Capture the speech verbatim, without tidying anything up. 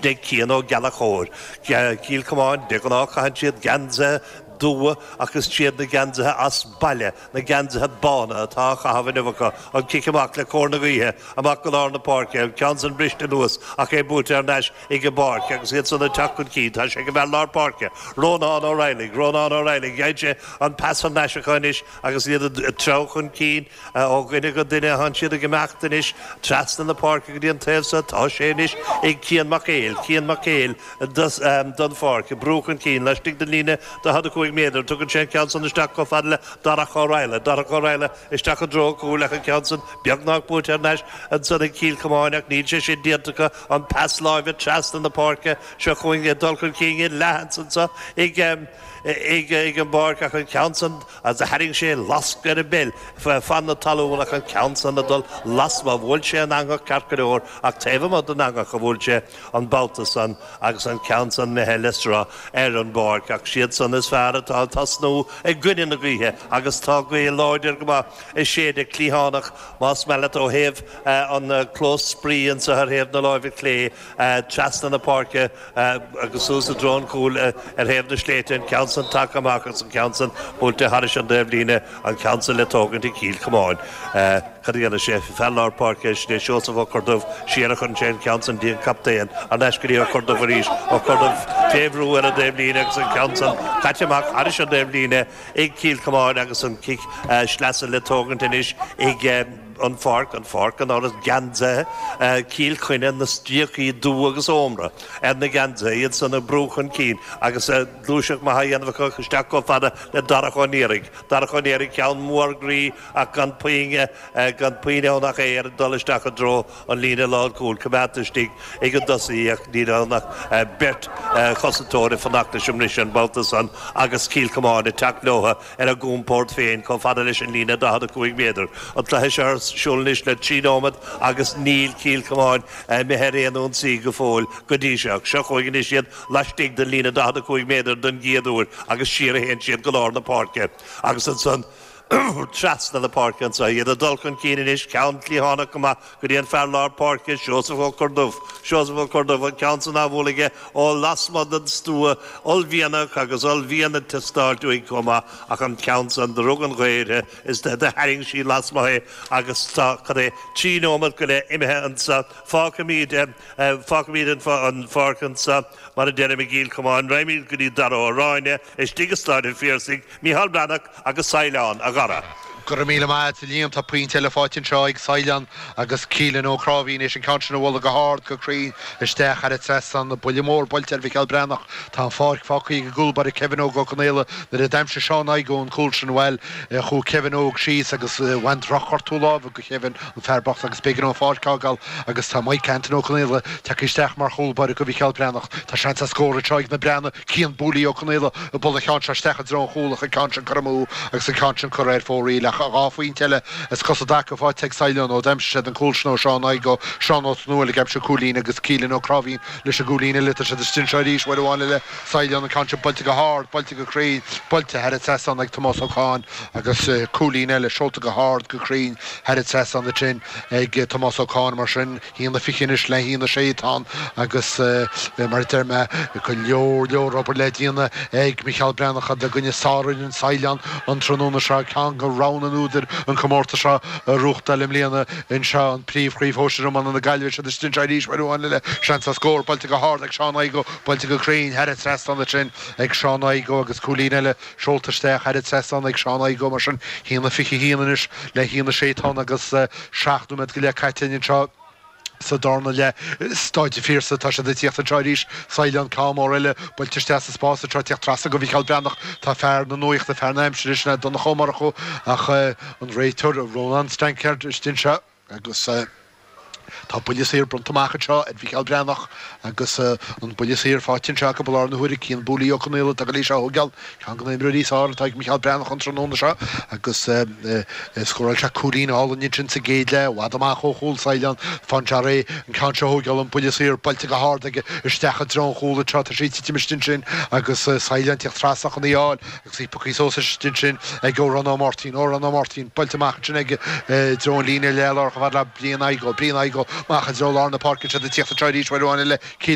Sin é Cian Ó Gallchóir. Cill Chomáin, de ghnáth caitheann siad geansaithe dubha ach is iad na geansaithe as baile, na geansaithe bána atá á chaitheamh inniu acu. An cic amach le cóir na gaoithe, amach go lár na páirce, an ceann san briste anuas ach é buailte thar n-ais ag an bpáirc agus iad san ag teacht chun cinn. Tá sé ag an bhfear lár páirce, Rónán Ó Raghallaigh, Rónán Ó Raghallaigh, gheibh sé an pas thar n-ais acu anois agus iad ag treabhadh chun cinn ó dhuine go duine. Tánn siad ag imeacht anois trasna na páirce go dtí an taobh so. Tá sé anois ag Cian Mac Éil, Cian Mac Éil don pháirc, ag brú chun cinn laistigh den líne daichead a cúig méadar. Tugann sé an ceann san isteach chomh fada le Darach Ó Raghallaigh, Darach Ó Raghallaigh isteach i dtreo an chúil ach an ceann san beagnach buaite thar n-ais ansan ag Cill Chomáin ach níl sé sin déanta acu. An pas láimhe trasna na páirce. Seo chugainn ag dul chun cinn i leath ansan ag ag ag an bpáirc ach an ceann san agus a tharraing sé lasc ar an bpeil fan na talún ach an ceann san ag dul lasmuigh. Bhuail sé an eangach ceart go leor ach taobh amuigh den eangach a bhuail sé an babhta san agus an ceann san imithe le sruth ar an bpáirc ach siad san is fearr atá ag tosnú i gcoinne na gaoithe agus tá gaoth láidir go maith ag séideadh cliathánach más maith leat ó thaobh an clós spraoi anso ar thaobh na láimhe clé trasna na páirce agus suas i dtreo an chúil ar thaobh na sléibhte, an ceann san tagtha amach agus an ceann san buailte thairis an dtaobhlíne, an ceann san le tógaint ag Cill Chomáin. Cad a dhéanfaidh sé? Fear lár páirce, sin é Seosamh Ó Corrduibh, siar a chuireann sé an ceann san dtí an captaen, thar n-ais go dtí Ó Corrduibh arís, Ó Corrduibh fé bhrú ar an dtaobhlíne agus an ceann san caite amach thairis an dtaobhlíne ag Cill Chomáin agus an cic sleasa le tógaint anois ag an pháirc, an pháirc gan amhras, geansaithe Chill Chainnigh, na stríocaí dubha agus ómra ar na geansaithe, iad san ag brú chun cinn agus gluaiseacht maith á dhéanamh acu isteach chomh fada le Darach Ó Niaraigh. Darach Ó Niaraigh, ceann mór groí ach gan puinn, gan puinn ann ach é ag dul isteach i dtreo an líne lánchúil, coimeádta istigh ag an dtosaí ach níl ann ach beirt chosantóir ag fanacht leis an mbriseadh an babhta san agus Cill Chomáin ag teacht leo ar a gcompord féin chomh fada leis an líne daichead a cúig méadar. An cluiche seo ar siúl anois le trí nóiméad agus níl Cill Chomáin imithe ar aon ionsaí go fóill go dtí seo. Seo chugainn anois iad laistigh den líne daichead a cúig méadar don gcéad uair agus siar a théann siad go lár na páirce agus ansan trasna na páirce anseo. Iad ag dul chun cinn anois, ceann cliathánach go maith go dtí an fear lár páirce, Seosamh Ó Corrduibh. Seosamh Ó Corrduibh, an ceann san á bhualadh aige ó lasmuigh den stua, uaillmhianach agus uaillmhian ag teastáilt uaidh chomh maith ach an ceann san, do rug an ghaoth uirthi is do tharraing sí lasmuigh é agus tá, cad é, trí nóiméad go leith imithe anseo. Fágfaimid, fágfaimid an pháirc anseo, mar a deirim, i gCill Chomáin. Raghaimid go dtí Dara Ó Ráinne istigh i Stáid an Phiarsaigh, Micheál Breathnach agus Saighleán, a Dhara. Go raibh míle maith agat, a Liam. Tá pointe eile faighte anseo ag Saighleán agus Keelan Ó Cráimhín éis an ceann sin a bhualadh go hard, go cruinn isteach thar an trasnán. Buille mór buailte ar Mhicheál Breathnach. Tá an pháirc fágtha ag an gcúl báire Kevin Óg Ó Conaola. Nuair a d'aimsigh Seán Igoe an cúl sin, bhuel, chuaigh Kevin Óg síos agus bhain drochghortú láimhe go Kevin, an fear bocht, agus b'éigean dó an pháirc a fhágáil agus tá Mike Anton Ó Conaola tagtha isteach mar chúl báire go Mhicheál Breathnach. Tá seans ar scór anseo ag na Breathnaigh. Cian Booley Ó Conaola ag bualadh an cheann seo isteach i dtreo an chúil ach an ceann sin curtha amú agus an ceann sin curtha ar fóraoil ach dhá phointe eile as cosa i dtaca faighte ag Saighleán ó d'aimsigh siad an cúl sin ó Seán Igoe, Seán Ó Tonúil ag aimsiú cúilín agus Keelan Ó Cráimhín leis an gcúilín eile. Tá siad istigh anseo arís uair amháin eile. Saighleán an ceann sin buailte go hard, buailte go cruinn, buailte thar an trasnán ag Tomás Ó Cadhain agus cúilín eile seolta go hard, go cruinn thar an trasnán ansin ag Tomás Ó Cadhain. Mar sin. haon a fiche anois le haon a sé atá ann agus mar a deir mé, go leor leor obair le déanamh ag Micheál Breathnach i gcoinne sárfhoireann Saighleán an tráthnóna seo, ceann de rogha na n-údar an comórtas seo a reáchtáil i mbliana anseo, an príomhchraobh shóisir iomána na Gaillimhe. Siad istigh anseo arís uair amháin eile, seans ar scór, buailte go hard ag Seán Igoe, buailte go cruinn thar an trasnán ansin ag Seán Igoe agus cúilín eile seolta isteach thar an trasnán ag Seán Igoe. Mar sin, haon a fiche haon anois le haon a sé atá ann agus seacht nóiméad go leith caite anseo sa darna leath. Stáid an Phiarsaigh, tá siad ag tíocht anseo arís. Saighleán, ceann mór eile buailte isteach sa spás anseo, ag tíocht trasna go Mhicheál Breathnach. Tá fear na nuachta, fear na haimsire, sin é Donncha Ó Murchú ach an réiteoir Rónán Stankard istigh anseo agus tá buille saor bronnta amach anseo ar Mhicheál Breathnach agus an buille saor faighte anseo acu i láthair na huaire. Cian Booley Ó Conaola atá ag dul é seo a thógáil. Ceann de na himreoirí is fearr atá ag Micheál Breathnach an tráthnóna seo agus scóráil sé cúilín álainn ansin sa gcéad leath, i bhfad amach ó chúl Saighleán. Fán deara é an ceann seo a thógáil, an buille saor buailte go hard aige isteach i dtreo an chúil anseo. Tá sé ag titim istigh ansin agus Saighleán ag tíocht trasna chun í a fháil agus í pioctha suas istigh ansin ag Odhrán Ó Máirtín. Odhrán Ó Máirtín buailte amach ansin aige i dtreo an líne leathlár chomh fada le Brian Igoe. Brian Igoe amach i dtreo lár na páirce. Siad ag tíocht anseo arís uair amháin eile. Keelan.